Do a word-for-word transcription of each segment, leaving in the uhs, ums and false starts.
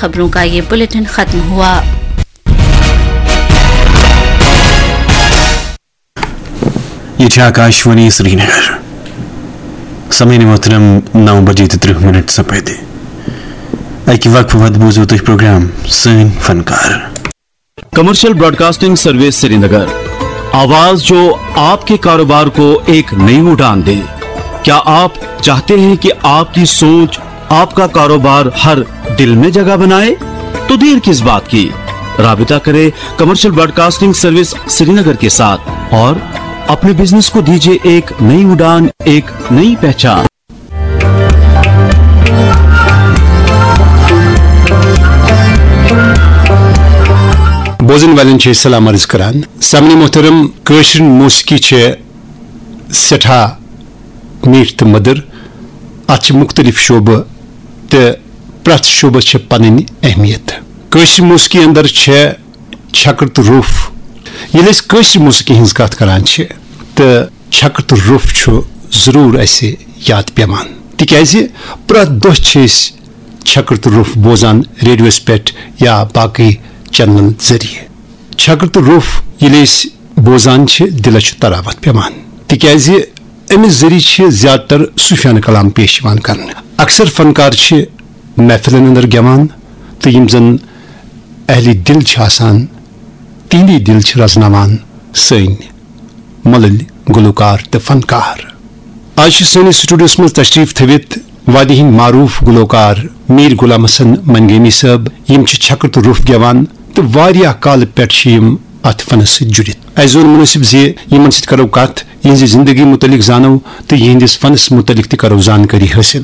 خبروں کا یہ بلیٹن ختم ہوا۔ یہ چھِ آکاشوانی سرینگر۔ سامعین محترم، نو بجے تہٕ ترٕہ منٹ سپدِ۔ اکہِ وقفہٕ پتہٕ بوزو تُہۍ پروگرام سٲنۍ فنکار۔ کمرشل براڈکاسٹنگ سروس سرینگر، آواز جو آپ کے کاروبار کو ایک نئی اڑان دے۔ کیا آپ چاہتے ہیں کہ آپ کی سوچ آپ کا کاروبار ہر دل میں جگہ بنائے؟ تو دیر کس بات کی؟ رابطہ کرے کمرشل براڈکاسٹنگ سروس سرینگر کے ساتھ اور اپنے بزنس کو دیجیے ایک نئی اڑان، ایک نئی پہچان۔ بوزن والٮ۪ن چھِ أسۍ سلام عرض کران۔ سامعین محترم، کٲشِر موسیقی چھِ سٮ۪ٹھاہ میٖٹھ تہٕ مٔدٕر۔ اَتھ چھِ مُختٔلِف شعبہٕ تہٕ پرٛٮ۪تھ شعبَس چھِ پَنٕنۍ اہمیت۔ کٲشِر موسیقی اندر چھےٚ چھکر تہٕ روٚف۔ ییٚلہِ أسۍ کٲشِر موسیقی ہٕنٛز کتھ کران چھِ، تہٕ چھکر تہٕ روٚف چھُ ضروٗر اَسہِ یاد پٮ۪وان، تِکیازِ پرٛٮ۪تھ دۄہ چھِ أسۍ چھکر تہٕ روٚف بوزان ریڈیوَس پٮ۪ٹھ یا باقٕے چینلن ذٔریعہٕ۔ چھکر تہٕ روٚف ییٚلہِ أسۍ بوزان چھِ، دِلس چھُ تراوت پٮ۪وان، تِکیازِ اَمہِ ذٔریعہٕ چھِ زیادٕ تر صوٗفیانہٕ کلام پیش یِوان کرنہٕ۔ اکثر فنکار چھِ محفلن اندر گٮ۪وان، تہٕ یِم زن اہلِ دِل چھِ آسان، تِہنٛدی دِل چھِ رزناوان سٲنۍ مۄلٕلۍ گلوکار تہٕ فنکار۔ آز چھِ سٲنِس سٹوڈیوس منٛز تشریف تھٲوِتھ وادی ہٕنٛدۍ معروف گلوکار میٖر غلام حسن منگیمی صٲب۔ یِم چھِ چھکر تہٕ روٚف گٮ۪وان تہٕ واریاہ کالہٕ پٮ۪ٹھ چھِ یِم اتھ فنس سۭتۍ جُڑِتھ۔ اسہِ زون مُنٲسِب زِ یِمن سۭتۍ کرو کتھ، یِہنٛزِ زندگی مُتعلق زانو تہٕ یِہنٛدِس فنس مُتعلق تہِ کرو زانکٲری حٲصِل۔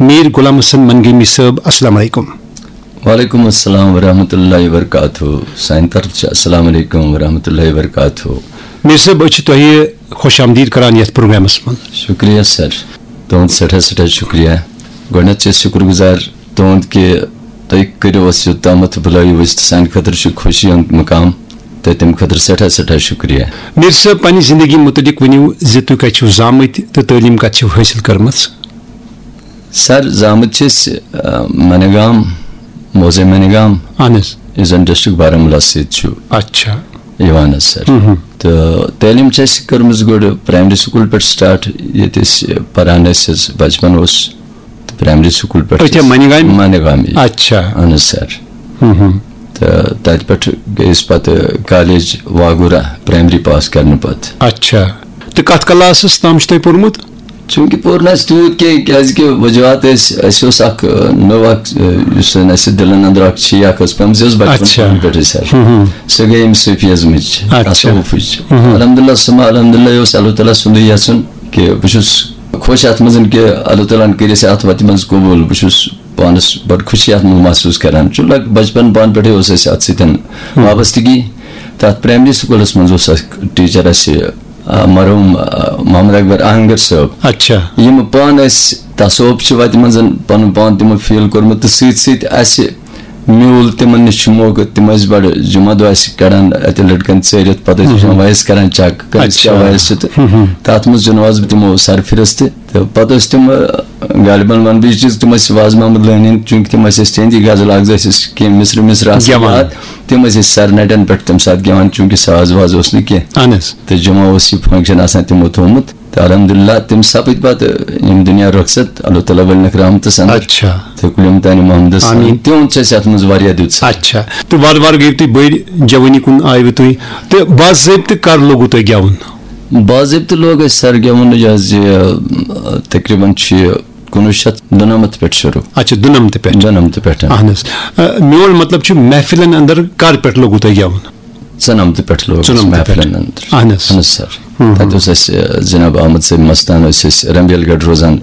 میٖر غلام حسن منگیمی صٲب، السلام علیکم۔ وعلیکم السلام ورحمۃ اللہ وبرکاتہ۔ سانہِ طرفہٕ چھُ السلام علیکم ورحمۃ اللہ وبرکاتہ۔ میٖر صٲب، أسۍ چھِ تۄہہِ خۄش آمدید کران یتھ پروگرامس منٛز۔ شُکریہ سر، تُہُنٛد سٮ۪ٹھاہ سٮ۪ٹھاہ شُکریہ۔ گۄڈٕنٮ۪تھ چھِ أسۍ شُکر گُزار تُہُنٛد کہِ تُہۍ کٔرِو اَسہِ یوٚتامَتھ بُلٲیِو أسۍ تہٕ سانہِ خٲطرٕ چھُ خوشی ہُنٛد مُقام، تہٕ تَمہِ خٲطرٕ سٮ۪ٹھاہ سٮ۪ٹھاہ شُکریہ۔ میٖر صٲب، پننہِ زندگی مُتعلق ؤنِو زِ تُہۍ کتہِ چھِو زامٕتۍ تہٕ تعلیٖم کتہِ چھِو حٲصِل کٔرمٕژ؟ سر، زامٕتۍ چھِ أسۍ، آ، منگام، موزے منگام، اہن حظ۔ یُس زن ڈسٹرکٹ بارہمولہ سۭتۍ چھُ اچھا۔ یِوان حظ سر۔ مہم۔ تہٕ تعلیٖم چھِ اَسہِ کٔرمٕژ گۄڈٕ پرایمری سکوٗل پٮ۪ٹھ سٹارٹ، ییٚتہِ أسۍ پران ٲسۍ حظ، بچپن اوس، تہٕ پرایمری سکوٗل پٮ۪ٹھ أتھۍ منگامہِ؟ منگامی۔ اچھا۔ اہن حظ سر۔ مہم۔ تہٕ تتہِ پٮ۪ٹھ گٔے أسۍ پتہٕ کالیج واگورہ پرایمری پاس کرنہٕ پتہٕ۔ اچھا۔ تہٕ کتھ کلاسس تام چھُ تۄہہِ پوٚرمُت؟ چوٗنٛکہِ پوٚر نہٕ اَسہِ تیوٗت کینٛہہ، کیٛازِکہِ وجوہات ٲسۍ، اَسہِ اوس اَکھ، آ، نٔو اَکھ، آ، یُس زَن اَسہِ دِلَن اَنٛدر اَکھ چھِ، یہِ اَکھ ٲس پیٚمٕژ، یہِ ٲس بَچپَن اچھا۔ پٮ۪ٹھٕے سَر۔ ہُم، ہُم۔ سۄ گٔے اَمہِ صوٗفیَزمٕچ، اچھا۔ تصوُفٕچ۔ ہُم، ہُم۔ الحمدللہ ثم الحمدللہ، یہِ اوس اللہ تعالیٰ سُنٛدُے یَژھُن کہِ بہٕ چھُس خۄش اَتھ منٛز کہِ اللہ تعالیٰ ہَن کٔرۍ اَسہِ اَتھ وَتہِ منٛز قبوٗل۔ بہٕ چھُس پانَس بَڑٕ خوشی اَتھ منٛز محسوٗس کَران۔ چوٗنٛکہِ لگ-، بَچپَن پانہٕ پٮ۪ٹھٕے اوس اَسہِ اَتھ سۭتۍ ہُم۔ وابستگی۔ تَتھ پرٛایمری سکوٗلَس منٛز اوس اَسہِ ٹیٖچَر اَسہِ آ، مرحوٗم، آ، محمد اکبر آہنگر صٲب۔ اچھا۔ یِم پانہٕ ٲسۍ تصوف چہِ وتہِ منٛز پنُن پان تِمو فیٖل کوٚرمُت تہٕ سۭتۍ سۭتۍ اَسہِ میوٗل تِمن نِش چھُ موقعہٕ، تِم ٲسۍ بڑٕ جمعہ دۄہ اَسہِ کڑان اَتہِ لٔڑکن ژٲرِتھ، پتہٕ ٲسۍ وٕچھان مہم۔ وایِس کران چیک، کٔمِس کیٛاہ اچھا۔ وایِس چھِ تہٕ مہم۔ تَتھ منٛز چُنواس بہٕ تِمو سرفہرست تہٕ پتہٕ ٲسۍ تِم، آ، غالباً وَنہٕ بہٕ یہِ چیٖز، تِم ٲسۍ واز محمد لٲنۍ ہٕنٛدۍ، چوٗنٛکہِ تِم ٲسۍ اَسہِ تِہِنٛدی غزل اکھ زٕ ٲسۍ اَسہِ کینٛہہ مِصرٕ مِصرٕ آسان گٮ۪وان۔ یاد، تِم ٲسۍ أسۍ سرنٹن پٮ۪ٹھ تَمہِ ساتہٕ گٮ۪وان، چوٗنٛکہِ ساز واز اوس نہٕ کینٛہہ۔ اہن حظ۔ تہٕ جمعہ اوس یہِ فنکشن آسان تِمو تھوٚومُت۔ تہٕ الحمدللہ، تِم سپٕدۍ پتہٕ یِم دُنیا رۄخصت، اللہ تعالیٰ ولنکھ رحمتس اندر۔ اچھا۔ تہٕ کُلیم تانہِ محمدس حامِد۔ تِہُنٛد چھُ اَسہِ اَتھ منٛز واریاہ دیُت سر۔ اچھا۔ تہٕ وارٕ وارٕ گٔیِو تُہۍ بٔڑۍ، جوٲنی کُن آیوٕ تُہۍ۔ تہٕ باضٲبطہٕ کر لوٚگوٕ تۄہہِ گٮ۪وُن؟ باضٲبطہٕ لوگ اَسہِ سر گٮ۪وُن یہِ حظ یہِ، تقریباً چھُ یہِ کُنوُہ شیٚتھ دُنمتھ پٮ۪ٹھ شروٗع۔ اچھا، دُنمتھ پٮ۪ٹھ۔ دُنمتھ پٮ۪ٹھ۔ اہن حظ۔ آ، میون مطلب چھُ محفلن اندر کر پٮ۪ٹھ لوٚگوٕ تۄہہِ گٮ۪وُن؟ ژُنَمتہٕ پٮ۪ٹھ لوگ اَسہِ ژُنَمتہٕ پٮ۪ٹھ۔ محفلن اندر۔ اہن حظ۔ اہن حظ سر۔ ہُم، تَتہِ ہُم۔ اوس اَسہِ، آ، جناب احمد صٲب مستان ٲسۍ أسۍ رمبیل گڑھ روزان،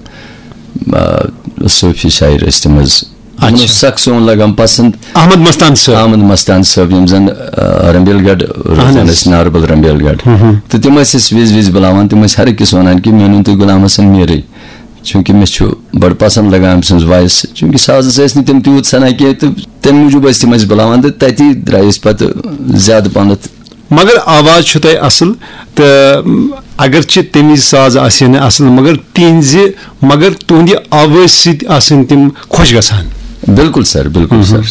آ، صوفی شاعر ٲسۍ تِم حظ۔ تِمن اچھا۔ اوس سخ سون لگان پسند۔ احمد مستان صٲب۔ احمد مستان صٲب، یِم زن، آ، رمبیل گڑھ روزان اہن حظ۔ ٲسۍ، ناربل رمبیل گڑھ۔ ہُم، ہُم۔ تہٕ تِم ٲسۍ اَسہِ وِزِ وِزِ بُلاوان، تِم ٲسۍ ہر أکِس وَنان کہِ مےٚ أنِو تُہۍ غلام حسن میٖرٕے۔ چوٗنٛکہِ مےٚ چھُ بَڑٕ پَسنٛد لَگان أمۍ سٕنٛز وایِس، چوٗنٛکہِ سازَس ٲسۍ نہٕ تِم تیوٗت سَنان کینٛہہ، تہٕ تَمہِ موٗجوٗب ٲسۍ تِم اَسہِ بُلاوان، تہٕ تَتی درٛایہِ أسۍ پَتہٕ زیادٕ پَہنَتھ۔ مگر آواز چھُ تۄہہِ اَصٕل، تہٕ اگرچہِ تَمہِ وِزِ ساز آسہِ ہے نہٕ اَصٕل، مگر تِہِنٛزِ، مگر تُہٕنٛدِ آوازِ سۭتۍ آسَن تِم خۄش گژھان۔ بِلکُل سَر، بِلکُل سَر۔